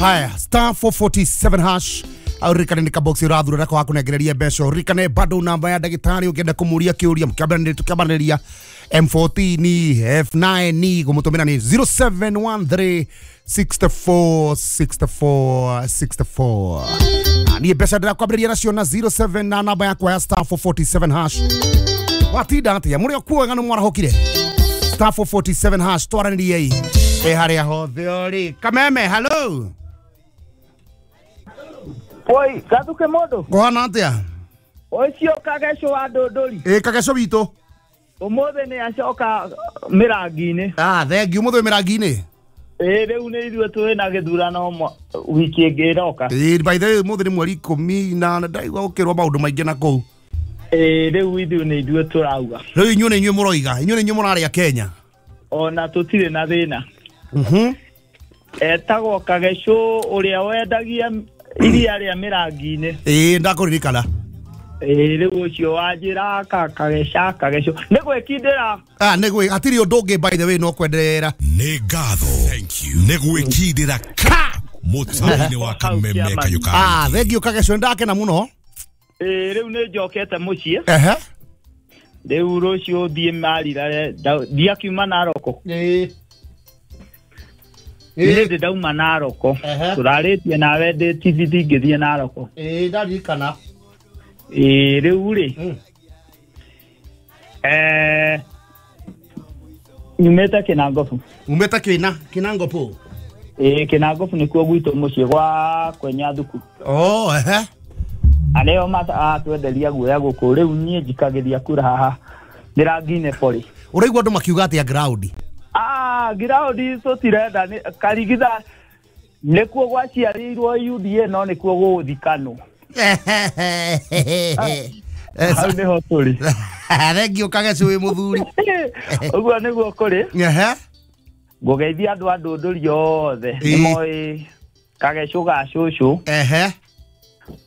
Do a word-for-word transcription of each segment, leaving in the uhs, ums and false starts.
Haya, star four forty-seven hash aurikane ni kabox urathura rako hakunengereria mbeca urikane bado namba ya ndagitari ungienda kumuria kiuria mkiambanĩria tukiambanĩria M fourteen F nine gumutumira ni zero seven one three six four six four six four. Ni mbeca ndirakwambĩrĩria nacio na zero seven na namba yakwa ya star four forty-seven hash. Watinda atia muri okuo ng'ano mwarahũkire star four forty-seven hash twaranĩriei e haria hothe ori Kameme. Hello. Oi, gathuke mondo. Kuhana atia? Ucio Kageco wa Ndũndũri. Ĩ Kageco witũ. Ũmũthĩ nĩ acoka mĩrangi-inĩ. Ah, thengiũ ũmũthĩ wĩ mĩrangi-inĩ. Ĩ rĩu nĩ ithuĩ twĩ na gĩthurano wiki ĩngĩ ĩroka. Ĩ by the way ũmũthĩ nĩ mweri ikũmi na ndaigua gũkĩrwo maũndũ maingĩ na kũu. Ĩ rĩu ithuĩ nĩ ithuĩ tũrauga. Rĩu inyuĩ nĩ inyuĩ mũroiga, inyuĩ nĩ inyuĩ mũrarĩa Kenya. Ona tũtirĩ na thĩna. Mhm. Etagwo Kageco ũrĩa wendagia iria rĩa mĩrangi-inĩ. Ĩ ndakũririkana. Ĩ rĩu ũcio wanjĩra ka Kageca Kageco nĩ gwĩkindĩra. Ah, nĩ gwĩ hatirĩ ũndũ ũngĩ by the way no kwenderera. Nĩ ngatho. Thank you. Nĩ gwĩkindĩra ka mũtambo-inĩ wa Kameme Kayuka. Ah, thengiũ Kageco ndakena mũno. Ĩ rĩu nĩ njokete mũciĩ. Ehe. Rĩu rũciũ thiĩ marira ndiakiuma Naroko. Ĩ Nĩ ndĩ ndauma Naroko. Tũrarĩtie nawe ndĩ T V ngĩthiĩ Naroko. Ĩ ndarikana. Ĩ rĩu rĩ eh nyumĩte Kĩnangobu. Umĩte Kĩna Kĩnangobu? Ĩ Kĩnangobu nĩkuo gwitũ mũciĩ gwa Kwenya Thuku. Oh, ehe. Arĩo matwenderia guoya gũkũ rĩu niĩ njikagĩria kura haha mĩrangi-inĩ pori. Ũraigua andũ makiuga atĩa ground? Ah, ground tũtirenda Karigitha nĩkuo gwaciarĩirwo U D A no nĩkuo gũgũthikanwo. Hau nĩho tũrĩ. Thengiũ Kageco wĩ mũthuri. Ũguo nĩguo kũrĩ. Ehe. Ngũgeithia andũ a Ndũndũri othe nĩmoĩ Kageco ga cũcũ. Ehe.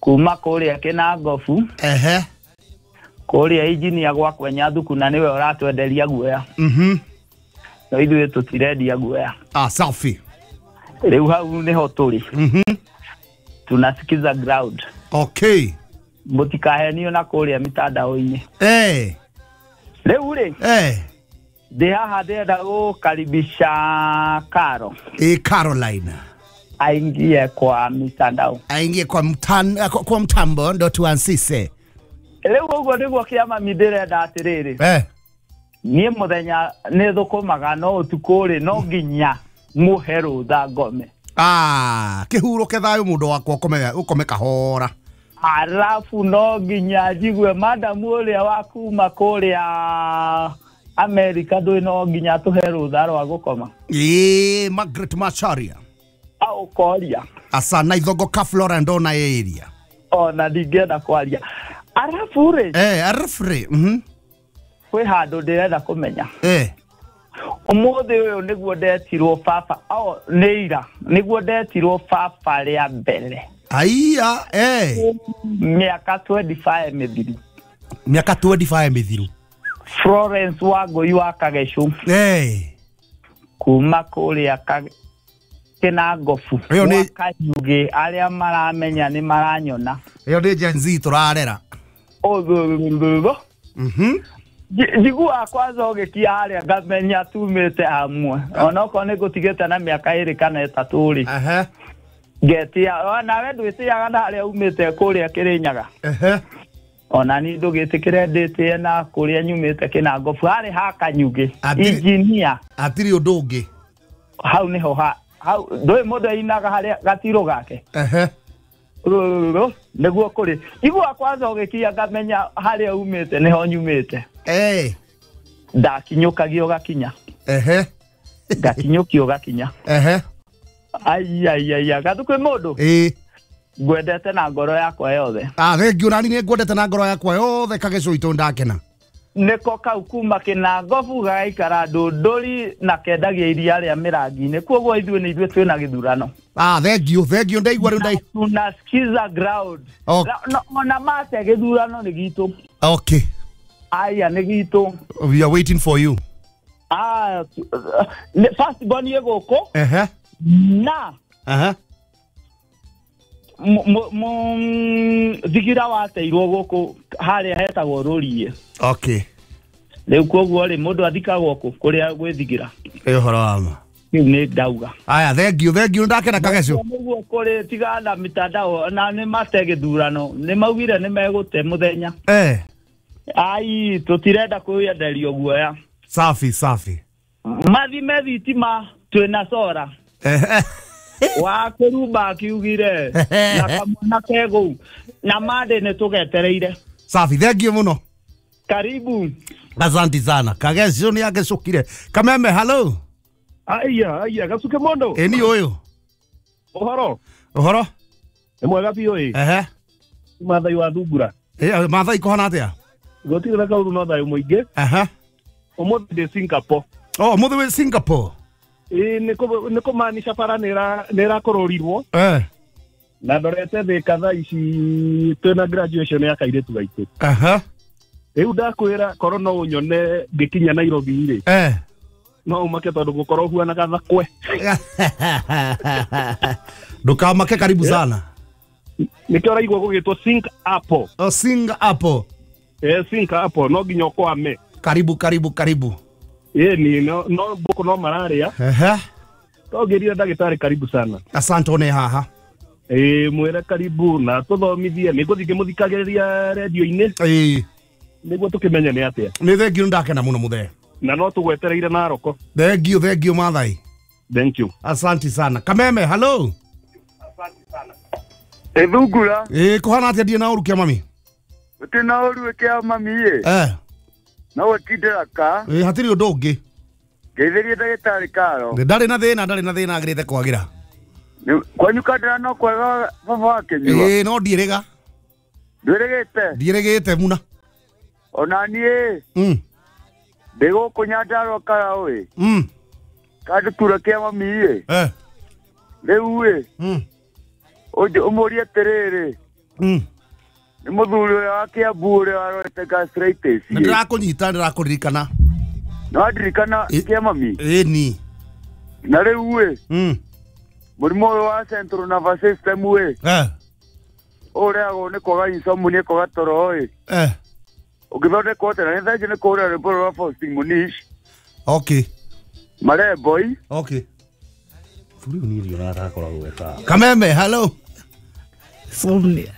Kuma kũrĩa Kĩnangobu. Ehe. Kũrĩa injinia gwa Kwenya Thuku na nĩwe ũratwenderia guoya. Mhm. No ithuĩ tũtirendia guoya. Ah, safi. Rĩu hau nĩho tũrĩ. Mhm. Tunasikiza ground. Okay. Mũtikahenio na kũrĩa mitandao-inĩ. Eh. Rĩu rĩ. Eh. Ndĩ haha ndĩrenda gũkaribisha Karo. Eh, Caroline. Aingie kwa mitandao. Aingie kwa mtan, kwa, kwa mtambo ndo tuansise. Rĩu ũguo nĩguo kĩama mi ndĩrenda atĩrĩrĩ. Eh. Niĩ mũthenya nĩ thũkũmaga no ũtukũ rĩ no nginya mũhe rũtha ngome. Ah, kĩhurũke thayũ mũndũ wakwa ũkome ũkome kahora. Arafu no nginya njigue madamu ũrĩa wa kuma kũrĩa Amerika ndũĩ no nginya tũhe rũtha rwa gũkoma. Ĩĩ, Margaret Macharia. Au koria. Asa na Ithongo ka Flora ndona area. Ona ndingĩenda kwaria. Arafu rĩ. Eh, arafu rĩ. Mhm. Kwĩ handũ ndĩrenda kũmenya. Eh. Ũmũthĩ ũyũ nĩguo ndetirwo baba, oh, nĩ ira, nĩguo ndetirwo baba rĩa mbere. Aiya, eh. Mĩaka twenty-five mĩthiru. Mĩaka twenty-five mĩthiru. Florence Wangũi wa Kageco. Eh. Kuma kũrĩa Kĩnangobu. Ĩyo nĩ Kanyugĩ arĩa maramenya nĩ maranyona. Ĩyo nĩ Gen Z tũrarera. Ũthũthũthũ. Mhm. Njiguaga kwanza ũgĩkia harĩa ngamenya tumĩte hamwe. Onokorwo nĩ ngũtigĩte na mĩaka ĩrĩ kana ĩtatũ rĩ. Ehe. Ngetia nawe ndwĩtĩaga na harĩa umĩte kũrĩa Kĩrĩnyaga. Ehe. Ona niĩ ndũgĩtĩkĩre ndĩtĩe na kũrĩa nyumĩte Kĩnangobu harĩ ha Kanyugĩ. Injinia. Hatirĩ ũndũ ũngĩ. Hau nĩho ha hau ndũĩ mũndũ ainaga harĩa gatirũ gake. Ehe. Nĩguo kũrĩ. Njiguaga kwanza ũgĩkia ngamenya harĩa umĩte nĩho nyumĩte. Eh. Ndakinyũkagia ũgakinya. Ehe. Ngakinyũkia ũgakinya. Ehe. Ai ai ai gathukwĩ mũndũ. Ĩ. Ngwendete na ngoro yakwa yothe. Ah, thengiũ nani nĩ ngwendete na ngoro yakwa yothe Kageco witũ ndakena. Nĩko kau kuma Kĩnangobu gagaikara Ndũndũri na kendagia iria rĩa mĩrangi-inĩ. Koguo ithuĩ nĩ ithuĩ twĩna gĩthurano. Ah, thengiũ, thengiũ ndaigua rĩu ndai. Tunasikiza ground. Okay. No, ona mate gĩthurano nĩ gitũ. Okay. Aya nĩ gitũ. We are waiting for you. Ah, first born ye gũkũ. Ehe. Na. Aha. Thigira wateirwo gũkũ harĩa hetagwo Rũriĩ. Okay. Rĩu koguo rĩ mũndũ athikagwo kũ kũrĩa gwĩthigira. Ĩ ũhoro wa ma. Rĩu nĩ ndauga. Aya, thank you, thank you, ndakena Kagecu. Nĩguo kũrĩ tigana mitandao na nĩ mate gĩthurano nĩ maugire nĩ megũte mũthenya. Eh. Ai tũtirenda kwĩyenderio guoya. Safi safi. Mathime thitima twĩna sora. Eh. Wa kũrumba akiugire na kamwana kegũu na mande nĩ tũgetereire. Safi, thank you mũno. Karibu. Asante sana. Kagecu nĩ agecũkire. Kameme, hello. Aya, aya, Gasuke mondo. Eni ũyũ. Ũhoro. Ũhoro? Nĩ mwega biũ ĩ. Ehe. Mathai wa Thungura. Eh, Mathai kũhana atĩa? Gũtirĩ na kaũndũ no thayũ mũingĩ. Ehe. Ũmũthĩ ndĩ Singapore. Oh, ũmũthĩ wĩ Singapore. Ĩ nĩ kũmaanisha bara nĩ ĩrakũrũrirwo. Eh. Na ndorete Thĩka thaa ici twĩna graduation ya kairĩtu gaitũ. Ehe. Rĩu ndakwĩra korwo no ũnyone ngĩkinya Nairobi rĩ. Eh. No umake tondũ gũkorwo huana gathakwe. Ndũkamake, karibu sana. Nĩkĩo ũraigua gũgĩtwo Singapore. Oh, Singapore. Eh, Singapore no nginya ũkwame. Karibu karibu karibu. Ĩni no no mbũkũ no mararĩa. Ehe. Tongĩrire ndagĩtarĩ karibu sana. Asante one haha. Ĩ mwĩre karibu na tũthomithie nĩ ngũthiĩ ngĩmũthikagĩrĩria redio-inĩ. Ĩ. Nĩguo tũkĩmenye nĩ atĩa. Nĩ thank you, ndakena mũno mũthee. Na no tũgwetereire Naroko. Thank you, thank you Mathai. Thank you. Asante sana. Kameme, hello. Asante sana. Ethungura. Ĩ kũhana atĩa ndiĩ na ũru kĩa mami? Gũtirĩ na ũru kĩa mami ĩ. Eh. No gũtindĩra ka. Ĩ hatirĩ ũndũ ũngĩ. Ngeithĩrie ndagĩtarĩ Karo. Ndarĩ na thĩna, ndarĩ na thĩna agĩrĩte kwagĩra. Kwanyu kandĩra no kwega baba wakĩnyua. Ĩ no ndiĩrĩga. Ndwĩrĩgĩte? Ndiĩrĩgĩte muna. Ona niĩ. Mm. Ndĩ gũkũ Nyandarua Karaũ ĩ. Mm. Kandutura kĩa mami ĩ. Eh. Rĩu ĩ. Mm. Ũmũrie atĩrĩrĩ. Mm. Nĩ mũthuri ũrĩa wa Kĩambu ũrĩa warorete gastritis. Nĩ ndĩrakũnyita, ndĩrakũririkana. Nĩ wandirikana kĩa mami? Ĩni. Na rĩu ĩ. Mm. Mũrimũ ũyũ wa central nervous system ĩ. Eh. Ũrehagwo nĩ kwaga insomnia, kwaga toro ĩ. Eh. Ũgĩthondekwo atĩa? Na nĩ thengiũ nĩ kũhũra rwĩmbo rwa Faustin Munish. Okay. Maremboi. Okay. Thuri ũyũ niĩ ndionaga ta akoragwo e sawa. Kameme, hello. Somnia.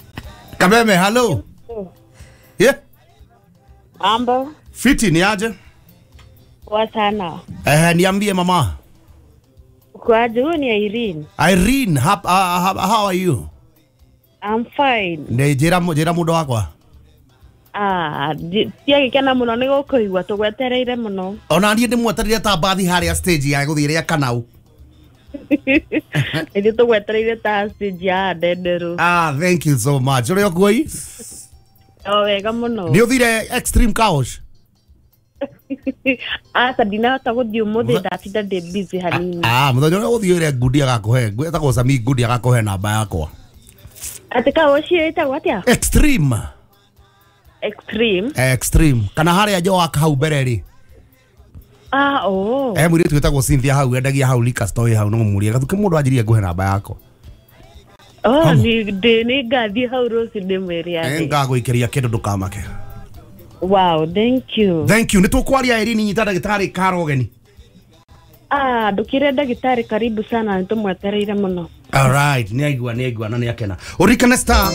Kameme, hello. Yeah. Mambo. Fiti ni aje? Poa sana. Eh, niambie mama. Uko aje? Huyu ni Irene. Irene, how, uh, how are you? I'm fine. Nĩ njĩra njĩra mũndũ wakwa. Ah, tiagĩkena mũno nĩ gũkũigua tũgwetereire mũno. Ona niĩ ndĩmwetereire ta mbathi harĩa stage ya gũthiĩ rĩa Kanau. Ithuĩ tũgwetereire ta stage ya Ndenderũ. Ah, thank you so much. Ũrĩ okuo ĩ? O wega mũno. Nĩ ũthire Extreme Car Wash? Aca ndinahota gũthiĩ ũmũthĩ, ndatinda ndĩ busy hanini. Ah, mũthenya ũrĩa ũgũthiĩ ũrĩa Ngundi agakũhe, etagwo Sami Ngundi agakũhe namba yakwa. Atĩ car wash ĩyo ĩtagwo atĩa? Extreme. Extreme. Extreme. Kana harĩa Joak hau mbere rĩ. Ah, oh. Eh, mũirĩtu wĩtagwo Cynthia hau endagia hau liquor store hau no mũmũrie gathuke mũndũ anjirie ngũhe namba yakwa. Oh, nĩ ndĩ nĩ ngathiĩ hau rũciũ ndĩmwĩre atĩ. Ngagũikĩria kĩndũ ndũkamake. Wow, thank you. Thank you. Nĩ tũkwaria Irene, nyita ndagĩtarĩ Karo ũgeni. Ah, ndũkĩre ndagĩtarĩ karibu sana, nĩ tũmwetereire mũno. All right, nĩ aigua, nĩ aigua na nĩ akena. Ũririkane star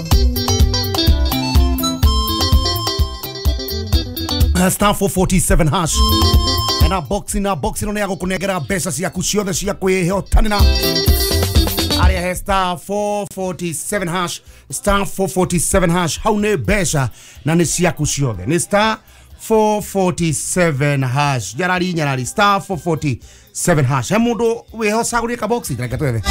star four forty-seven hash. Ena box na box ĩno nĩ ya gũkũnengera mbeca ciaku ciothe cia kwĩhotanĩra. Arĩa he star four forty-seven hash, star four forty-seven hash, hau nĩ mbeca na nĩ ciaku ciothe. Nĩ star four forty-seven hash. Nyarari nyarari star four forty-seven hash. He mũndũ wĩhocagũrie kaboxi reke twethe.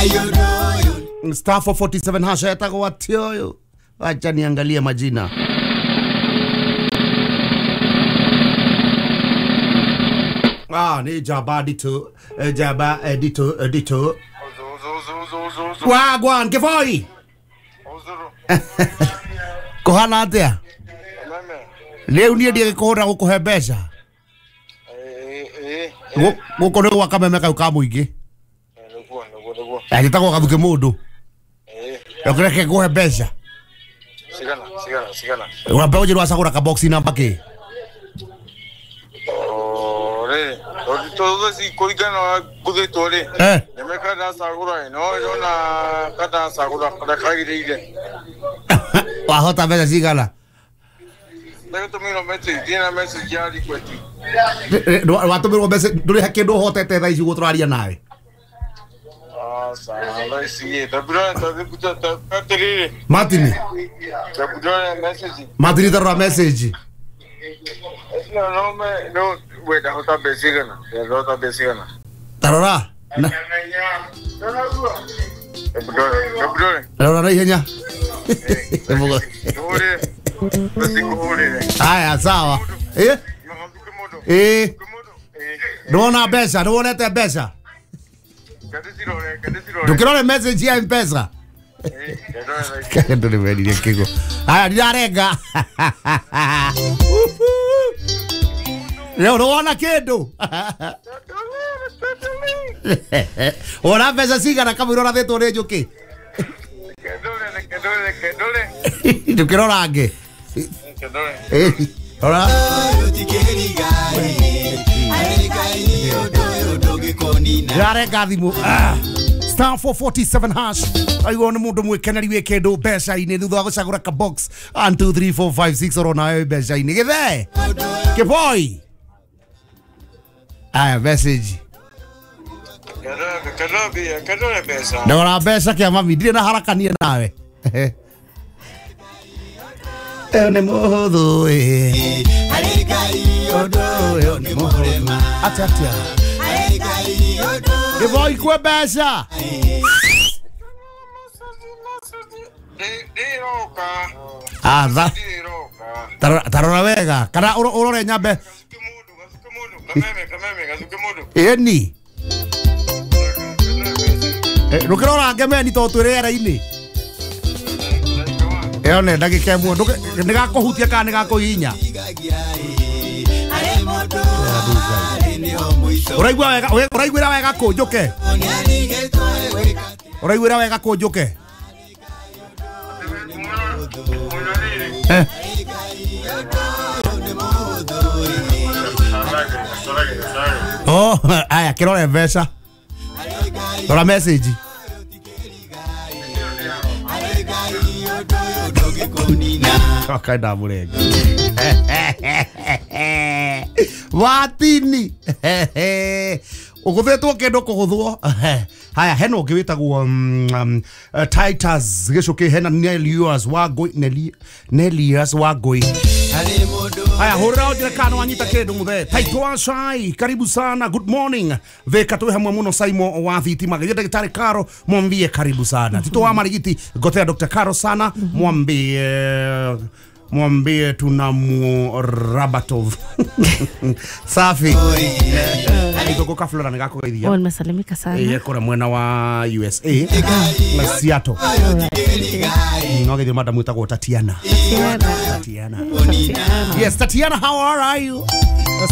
Star four forty-seven hash etagwo atĩa ũyũ? Wacha niangalie majina. Ah, ni jaba dito, jaba dito, dito. Wagwan, Kivoi. Kuhana atia? Leo niĩ ndiagĩkũhũra gũkũhe mbeca. Gũkũ nĩ gwa Kameme kau ka mũingĩ. Agĩtagwo Gathuke mũndũ. Reke nguhe mbeca. Cigana, cigana, cigana. Wambe ũnjĩre wacagũra kaboxi namba kĩ? O rĩ, tondũ thaa kũringana na ngũthĩtwo rĩ. Eh. Nĩme ndacagũra ĩ, no ndona kandacagũra karĩa kagĩrĩire. Wahota mbeca cigana? Ndagĩtũmĩrwo message, ndĩna message ya request. Watũmĩrwo mbeca ndũrĩ he kĩndũ ũhotete thaa ici ũguo tũraria nawe? Aca, thaa ici ĩ, ndambĩrora atĩrĩrĩ. Martin. Ndambĩrora message. Martin tarora message. No, no me, no, we ndahota mbeca igana, ndahota mbeca igana. Tarora. Ndambĩrore. Rora na ihenya. Hũrĩre. Ndĩkũhũrĩre. Haya sawa. Eh? Eh. Ndwona mbeca, ndwonete mbeca. Ndũkĩrore message ya M-Pesa. Kendo nĩ werire kĩgo. Haya ndirarenga. Leo ndwona kĩndũ. Wona mbeca cigana kamũira ũrathĩtwo nĩ njũkĩ? Ndũkĩrora ngĩ. Eh, rora. Ndirarenga thimũ. Star four forty-seven hash. Aigua nĩ mũndũ mwĩkeneri wĩ kĩndũ mbeca-inĩ thutha wa gũcagũra ka box one two three four five six orona wewe mbeca-inĩ gĩthee kĩboi. Aya message. Ndora mbeca kĩa mami ndirĩ na haraka niĩ nawe. Ĩyo nĩ mũhũthũ ĩ. Ũndũ ũyũ nĩ mũhũthũ. Atĩa atĩa. Gĩboi kwe mbeca. Ah, tha. Tarora wega kana ũrore nyambe. Ĩni. Ndũkĩrora ngemeni tondũ twĩ rĩera-inĩ. Ĩyo nĩ ndagĩka ĩmwe nĩ gakũhutia kana nĩ gakũhihinya. Ũraigua wega, ũraiguĩra wega kũ njũke? Ũraiguĩra wega kũ njũke? Eh. Oh, aya kĩrore mbeca. Rora message. Kaenda mũrenga. Watini. Ũgũthĩtwo kĩndũ kũgũthwo. Haya hena ũngĩ wĩtagwo Titus gĩcũkĩ hena Nelius Wangũi Nelius Wangũi. Haya hũrĩra ũnjĩre kana nĩwanyita kĩndũ mũthee. Taito Shai, karibu sana, good morning. Thika twĩ hamwe mũno Saimo wa thitima. Geria ndagĩtarĩ Karo mwambie karibu sana. Tito wa Marigiti gotea Doctor Karo sana mwambie mwambie tunamu Rabatov. Safi. Nitoko ka Flora nĩgakũgeithia. Oh, nimesalimika sana. Eh, kũrĩa mwena wa U S A na Seattle. No geithio madam wĩtagwo Tatiana. Tatiana. Yes, Tatiana, how are you?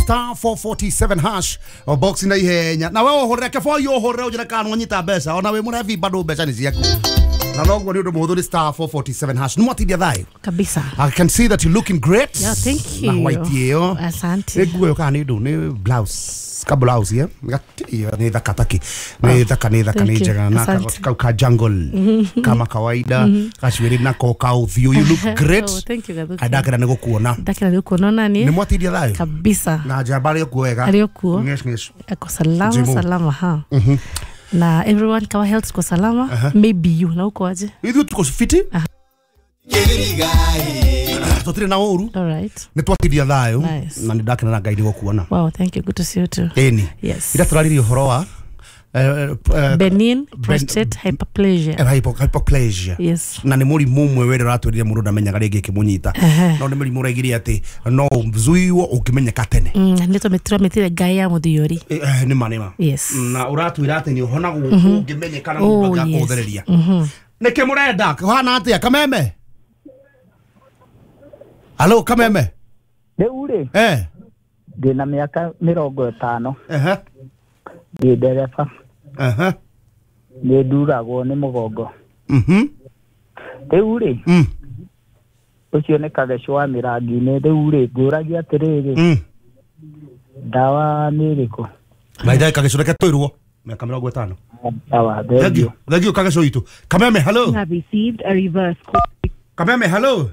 Star four forty-seven hash box na ihenya. Na wewe ũhũrĩre kĩboi ũhũrĩre ũnjĩre kana nĩwanyita mbeca. Ona wĩ mũrebi bado mbeca nĩ ciaku. Na noguo nĩ ũndũ mũhũthũ nĩ star four forty-seven hash. Nĩ mwatindia thayũ? Kabisa. I can see that you're looking great. Yeah, thank you. Na white ĩyo. Asante. Nĩ nguo ĩyo kana nĩ ndũ nĩ blouse. Ka blouse yeah. Nĩ thaka taki. Nĩ thaka nĩ thaka nĩ njega na kagoti kau ka jungle kama kawaida gacuĩrĩ nako ka ũthiũ. You look great. Oh, thank you Gathuki. Ndakĩra nĩ gũkuona. Ndakĩra nĩ gũkuona nani? Nĩ mwatindia thayũ? Kabisa. Na njamba arĩ okuo wega. Arĩ okuo. Ngesh ngesh. Ako salama salama ha. Na everyone kawa health kwa salama. Uh -huh. Maybe you na uko aje? Ithuĩ tuko fiti. Tutire na ũru. All right. Nĩ twatindia thayũ nice. Na nĩ ndakena na Ngai nĩ gũkuona. Wow, thank you. Good to see you too. Ĩni. Yes. Ira tũraririe ũhoro wa uh, uh, benign prostate ben, hyperplasia. Hypo, hyperplasia. Yes. Na nĩ mũrimũ ũmwe wĩrĩ ũratwĩrire mũndũ ndamenyaga rĩngĩ ĩkĩmũnyita. No nĩ mũrimũ ũraigire atĩ no ũzuiwo ũngĩmenyeka tene. Mm, nĩ tũmĩtire ngai ya mũthiori. Eh, nĩ ma nĩ ma. Yes. Na ũratwĩra atĩ nĩ ũhonagwo ũngĩmenyeka na mũndũ angĩakũthereria. Nĩkĩ mũrenda? Kũhana atĩa Kameme? Halo Kameme. Rĩu rĩ? Eh. Ndĩna mĩaka mĩrongo ĩtano. Ehe. Ndĩ ndereba. Ehe. Nĩ nduragwo nĩ mũgongo. Mhm. Rĩu rĩ Mm. ũcio nĩ Kageco wa Mĩrangi-inĩ. Rĩu rĩ ngũragia atĩrĩrĩ, Mm. ndawa nĩ ĩrĩkũ? Maitha Kageco reke twĩrwo mĩaka mĩrongo ĩtano. Ndawa Thank you. thengiũ. Thank you Kageco witũ. Kameme hello. Have received a reverse call. Kameme hello.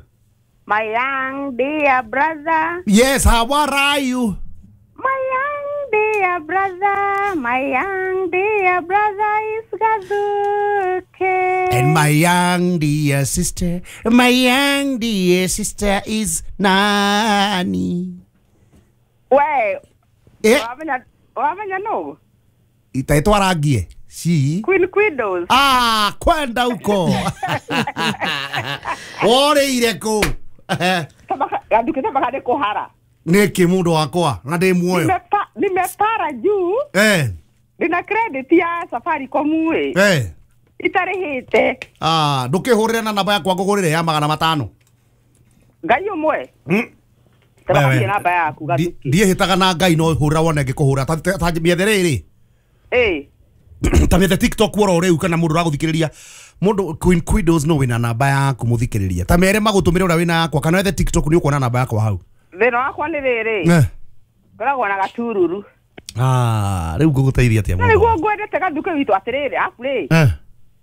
My young dear brother, Yes, how are you? my young dear brother, my young dear brother is Gaduke. And my young dear sister, my young dear sister is Nani. We, Eh, wamenya wamenya no? itaitwa rangie. Si. Queen Quidos. Ah, kwenda huko. Woreire kũ? Gaduke tabaka nĩ kũhara. Nĩkĩ mũndũ wakwa na ndĩ muoyo. Nimepa, nimepara juu Eh, ndina credit ya Safaricom ĩ eh. itarĩhĩte. Ah, ndũkĩhũrĩre na namba yakwa ngũgũrĩre ya magana matano. Ngai ũmwe. Mm. Tabaka Wewe. thiĩ namba yaku Gaduke. Ndiĩhĩtaga na Ngai no hũra wone ngĩkũhũra ta ta mĩethe rĩrĩ. Ĩ. Ta mĩethe TikTok woro rĩu kana mũndũ ũragũthikĩrĩria mũndũ Queen Quidos no wĩna namba yaku mũthikĩrĩria ta mere magũtũmĩre ũrĩa wĩna yakwa kana wethe TikTok nĩ ũkuona namba yakwa hau. Thĩna wakwa nĩ rĩrĩ. Eh. Ngoragwo na gatururu. Ah, rĩu ngũgũteithia atĩa Na mũndũ? nĩguo ngwendete Gaduke witũ atĩrĩrĩ, abu rĩ. Eh.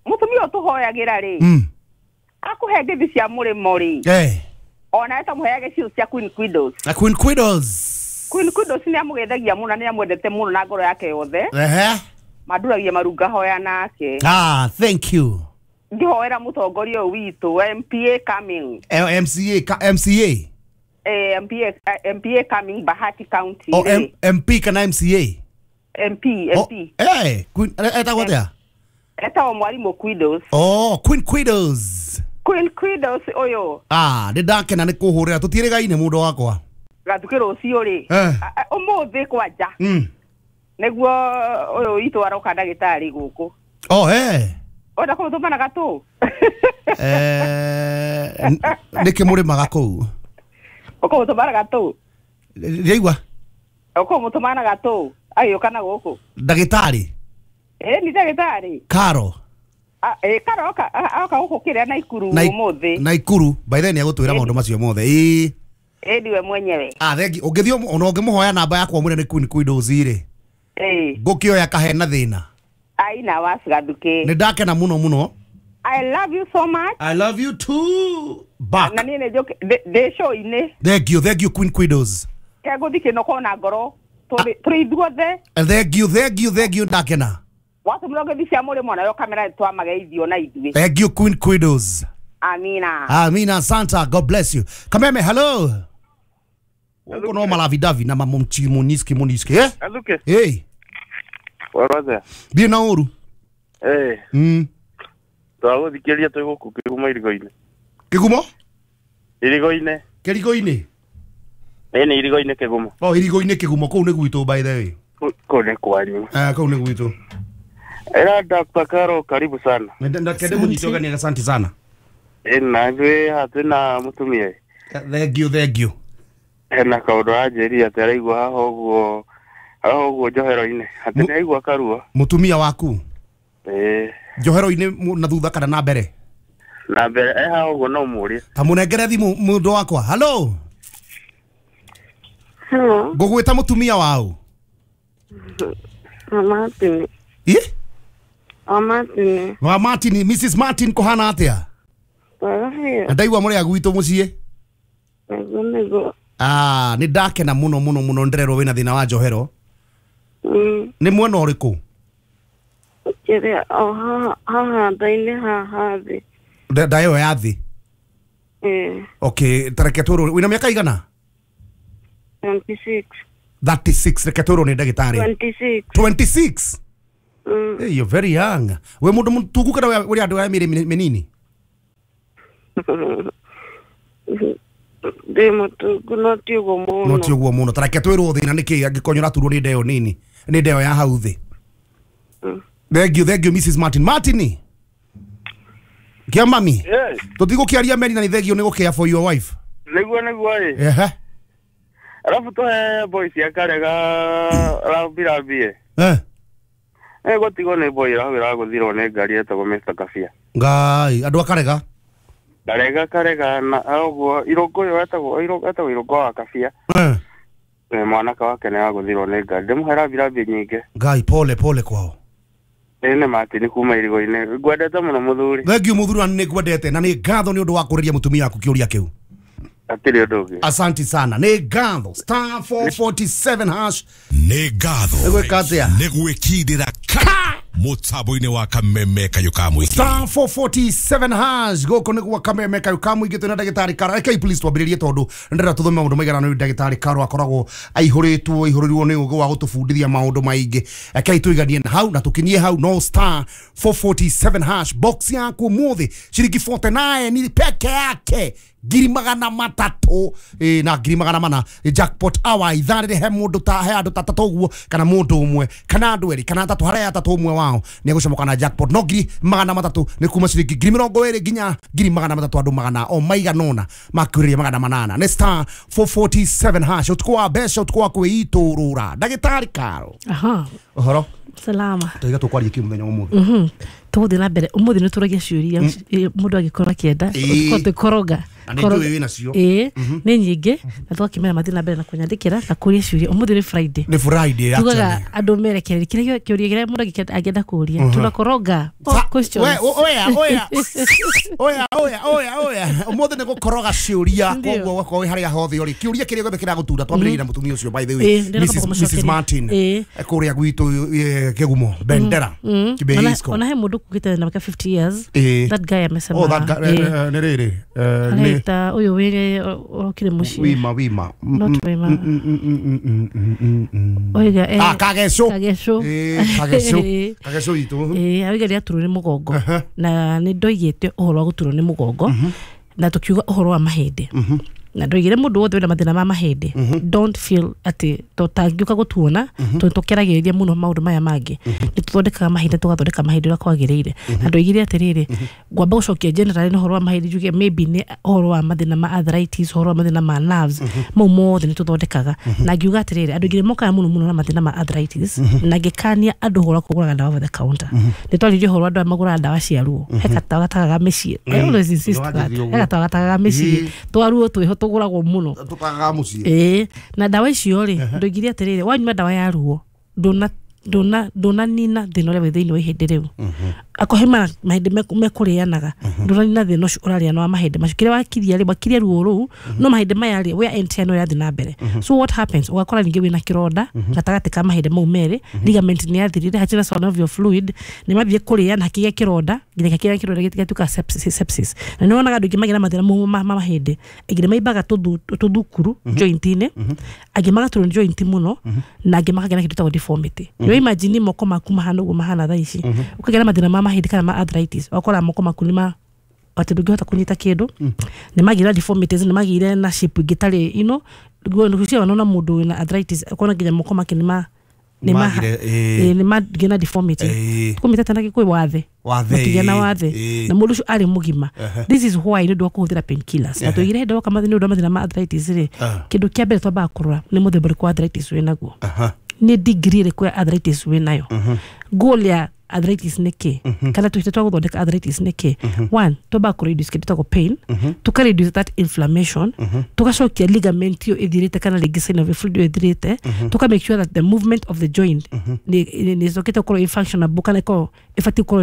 Mũtumia ũyũ tũhoyagĩra rĩ. Mm. Akũhe ngeithi cia mũrĩmo rĩ. Eh. Ona we tamũheage cio cia Queen Quidos. Na Queen Quidos. Queen Quidos nĩ amũgeithagia mũno na nĩ amwendete mũno na ngoro yake yothe. Ehe. Manduragia marunga hoya nake. Ah, thank you. Ngĩhoera mũtongoria ũyũ witũ M P A coming. L M C A ka M C A. Eh, M P A, eh, M P A coming Bahati County. O rĩ. M MP kana M C A? M P, M P. Oh, eh, Queen etagwo atĩa? Etagwo mwarimũ Quidos. Oh, Queen Quidos. Queen Quidos ũyũ. Ah, nĩ ndakena nĩ kũhũrĩra tũtiĩrĩgaine mũndũ wakwa. Gaduke rũciũ rĩ. Eh. A- a- Ũmũthĩ kwanja. Mm. Nĩguo ũyũ witũ aroka ndagĩtarĩ gũkũ. Oh, eh. Ona kũmũtũmana gatũ. Eh, nĩkĩ mũrĩmaga kũu? Ũkũmũtũmana gatũ. Ndĩraigua Ũkũmũtũmana gatũ. Agĩũka na gũkũ. ndagĩtarĩ Ĩ ni ndagĩtarĩ. Karo Ah, ĩ Karo oka oka gũkũ kĩrĩa Naikuru Nai- ũmũthĩ. Naikuru by then nĩagũtwĩra maũndũ macio mothe. Ĩĩ. Ĩ niwe mwenyewe. Ah, thengi ũngĩthiĩ ona ũngĩmũhoya namba yakwa ũmwĩre nĩ Queen Quidos rĩ. Ĩ. Ngũkĩoya kahena thĩna. Aina was Gaduke. Nĩ ndakena mũno mũno. I love you so much. I love you too. Back. Na niĩ nĩ njũke ndĩ show-inĩ. Thank you, thank you Queen Quidos. Kegũthiĩ kĩnoko na ngoro. Tũrĩ tũrĩ ithuothe. And thank you, thank you, thank you ndakena. Watũmĩrwo ngeithi cia mũrĩmo nayo kamera twamageithio na ithuĩ. Thank you Queen Quidos. Amina. Amina Santa, God bless you. Kameme hello. Uko no malavidavi na mamomchi moniski moniski eh? Gaduke. Hey, Warwathea. thiĩ na ũru. Eh, Mm. twagũthikĩrĩria twĩ gũkũ Kĩgumo irigo-inĩ. Kĩgumo? Irigo-inĩ. Kĩrigo-inĩ. Ĩ nĩ irigo-inĩ Kĩgumo. Oh, irigo-inĩ Kĩgumo kũu nĩ gwitũ by the way. Kũu nĩ kwanyu. Eh, kũu nĩ gwitũ. Ĩra Doctor Karo karibu sana. Ndakende mũnyite ũgeni asante sana. Ĩ na ithuĩ haha twĩna mũtumia ĩ. Thank you, thank you. Hena kaũndũ aranjĩrire atĩ araigua haha ũguo haha ũguo njohero-inĩ atĩ Mu- nĩ aigua karuo. Mũtumia waku Ĩ njohero-inĩ mu- na thutha kana na mbere? na mbere e haha ũguo no ũmũrie. Ta mũnengere thimũ mũndũ wakwa. Hello. Hello, Ngũgwĩta mũtumia wau. wa Martin. Ĩ? Wa Martin. Wa Martin, Missus Martin kũhana atĩa? Wega biũ. Na ndaigua mũrĩ a gwitũ mũciĩ. Nĩguo nĩguo. Ah, nĩ ndakena mũno mũno mũno ndĩrerwo wĩna thĩna wa njohero. Mm. Nĩ mwena ũrĩkũ? Kĩrĩa o haha haha nda-inĩ haha thĩ. Nda nda ĩyo ya thĩ. Ĩĩ, Okay, tareke twĩrwo wĩna mĩaka igana? twenty-six. thirty-six reke twĩrwo nĩ ndagĩtarĩ. twenty-six. twenty-six? Mm. Hey, you're very young. We mũndũ mũtungu kana we ũrĩ andũ a mĩrĩ mĩnini? Ndĩ mũtungu no ti ũguo mũno. No ti ũguo mũno. Tareke twĩrwo thĩna nĩ kĩ angĩkorwo nĩũraturwo nĩ ndeo nini, nĩ ndeo ya hau thĩ. Mm. Thank you, thank you Missus Martin. Martin. Kia mami. Yes. Tũtigũkĩaria meri na nĩ thengio nĩ gũkĩa for your wife. Nĩguo nĩguo ĩ. Ehe. Alafu tũhe boys ya Karega rambi rambi ĩ. Eh. Ĩ gũtigwo nĩ boy ĩrahau ĩragũthirwo nĩ ngari ĩtagwo Mister Kabia. Ngai, andũ a Karega. Karega karega na ũguo irũngũ ũyũ wetagwo irũngũ etagwo irũngũ wa kabia. Eh. Eh, mwanake wake nĩ wagũthirwo nĩ ngari. Ndĩmũhe rambi rambi nyingĩ. Ngai pole pole kwao. Ĩĩ nĩ Martin kuma irigo-inĩ. Ngwendete mũno mũthuri. Thank you muthuri, na nĩ ngwendete na nĩ ngatho nĩ ũndũ wa kũrĩria mũtumia waku kĩũria kĩu. Hatirĩ ũndũ ũngĩ. Asante sana, nĩ ngatho. Star four forty-seven hash. Nĩ ngatho. Nĩ gwĩka atĩa? Nĩ gwĩkindĩra ka mũtambo-inĩ wa Kameme Kayũ ka Mũingĩ. Star four forty-seven hash gũkũ nĩ gwa Kameme Kayũ ka Mũingĩ, twĩna ndagĩtarĩ Karo. Rekei please twambĩrĩrie tondũ ndĩrenda tũthome maũndũ maigana nĩ ndagĩtarĩ Karo akoragwo aihũrĩtwo aihũrĩrwo nĩ ũgĩ wa gũtũbundithia maũndũ maingĩ. Rekei tũiganie na hau na tũkinyie hau no star four forty-seven hash box yaku ũmũthĩ ciringi forty-nine ni peke yake ngiri magana matatũ eh, na ngiri magana mana jackpot hour ithaa rĩrĩ he mũndũ ta he andũ ta atatũ ũguo kana mũndũ ũmwe kana andũ erĩ kana atatũ harĩa atatũ ũmwe wao nĩ egũcomoka na jackpot no ngiri magana matatũ nĩ kuma ciringi ngiri mĩrongo ĩrĩ nginya ngiri magana matatũ andũ magana o maigana ũna makwĩrĩria magana manana nĩ star four forty-seven hash ũtukũ wa mbeca ũtukũ wa kwĩitũrũra. Ndagĩtarĩ Karo. Aha. Ũhoro? Salama. Tũiga tũkwaria kĩ mũthenya ũmũthĩ? Mhm. Tũgũthiĩ na mbere ũmũthĩ nĩ tũragia ciũria mũndũ angĩkorwo akĩenda tũkoroga Na nĩ njũĩ wĩnacio. Ĩĩ nĩ nyingĩ na tũgakĩmera mathiĩ na mbere na kũnyandĩkĩra na kũria ciũria. Ũmũthĩ nĩ Friday. Nĩ Friday tugaga actually. andũ merekererie kĩrĩa kĩũria kĩrĩa mũndũ angĩenda kũria. Tunakoroga all questions. We oya oya oya oya oya oya ũmũthĩ nĩ gũkoroga ciũria koguo ũgakorwo wĩ harĩa hothe ũrĩ kĩũria kĩrĩa gĩothe kĩragũtura twambĩrĩrie na mũtumia ũcio by the way Missus Missus Martin kũrĩa gwitũ Kĩgumo Bendera Kibeisko. Ona he mũndũ kugĩte na mĩaka fifty years. That guy amesema. Oh that guy nĩ rĩrĩ nĩ ta ũyũ wĩre ũrokire mũciĩ wima wima not wima oiga eh ah Kageco Kageco eh Kageco Kageco itu eh oiga rĩa turwo nĩ mũgongo na nĩ ndoigĩte ũhoro wa gũturwo nĩ mũgongo na tũkiuga ũhoro wa mahĩndĩ na ndoigire mũndũ wothe wĩna mathĩna ma mahĩndĩ don't feel atĩ tũtangĩũka gũtuona tondũ tũkeragĩrĩria mũno maũndũ maya mangĩ nĩ tũthondekaga mahĩndĩ tũgathondeka mahĩndĩ ũrĩa kwagĩrĩire na ndoigire atĩrĩrĩ ngwamba gũcokia generally nĩ ũhoro wa mahĩndĩ njuge maybe nĩ ũhoro wa mathĩna ma arthritis ũhoro wa mathĩna ma nerves mau mothe nĩ tũthondekaga na ngiuga atĩrĩrĩ andũ aingĩ mokaga mũno mũno na mathĩna ma arthritis na ngĩkania andũ ũhoro wa kũgũraga ndawa over the counter nĩ twaririe ũhoro wa andũ arĩa magũraga ndawa cia ruo he gatawa gatagaga mĩciĩ I always insist that he gatawa gatagaga mĩciĩ twa ruo twĩho tũgũragwo mũno tũtagaga mũciĩ ĩĩ na ndawa icio rĩ ndoigire atĩrĩrĩ wanyua ndawa ya ruo ndũna ndũna ndũnanina thĩna ũrĩa wĩ thĩinĩ wa ihĩndĩ rĩu akohe mahĩndĩ mekũrĩanaga ndũnanina thĩna ũcio ũrarĩana wa mahĩndĩ macio kĩrĩa wakiria rĩ wakiria ruo rũu no mahĩndĩ maya rĩ wear and tear no ĩrathiĩ na mbere so what happens ũgakora ningĩ wĩna kĩronda gatagatĩ ka mahĩndĩ mau merĩ ligament nĩ yathirire hatirĩ na synovial fluid nĩ mathiĩ kũrĩana hakĩgĩa kĩronda nginya kĩrĩa kĩronda gĩtuĩka sepsis sepsis na nĩ wonaga andũ aingĩ magĩa na mathĩna mau ma mahĩndĩ aingĩ nĩ maimbaga tũthukuru joint-inĩ angĩ magaturwo nĩ joint mũno na angĩ makagĩa na kĩndũ gĩtagwo deformity nĩ imagine moko maku mahana ũguo mahana thaa ici ũkagĩa na mathĩna ma mahĩndĩ kana ma arthritis ũgakora moko maku nĩ ma atĩ ndũngĩhota kũnyita kĩndũ nĩ magĩire deformities nĩ magĩire na shape ĩngĩ ĩtarĩ you know ngwĩciria wanaona mũndũ wĩna arthritis ũkona nginya moko make nĩ ma nĩ ma nĩ magĩire na deformity kũmĩtete na gĩkũyũ wathe makĩgĩa na wathe na mũndũ ũcio arĩ mũgima this is why nĩ ũndũ wa kũhũthĩra painkillers na tũigire hĩndĩ woka nĩ ũndũ wa mathĩna ma arthritis rĩ kĩndũ kĩa mbere twambaga kũrora nĩ mũthemba ũrĩkũ wa arthritis wĩ naguo nĩ degree ĩrĩkũ ya arthritis wĩ nayo goal ya arthritis nĩ kĩ kana tũhĩte twa gũthondeka arthritis nĩ kĩ one twambaga kũ reduce kĩndũ gĩtagwo pain tũka reduce that inflammation tũgacokia ligament ĩyo ĩthirĩte kana rĩngĩ synovial fluid ĩyo ĩthirĩte tũka make sure that the movement of the joint nĩ ĩcokete gũkorwo ĩ functionable kana ĩkorwo ĩbatiĩ gũkorwo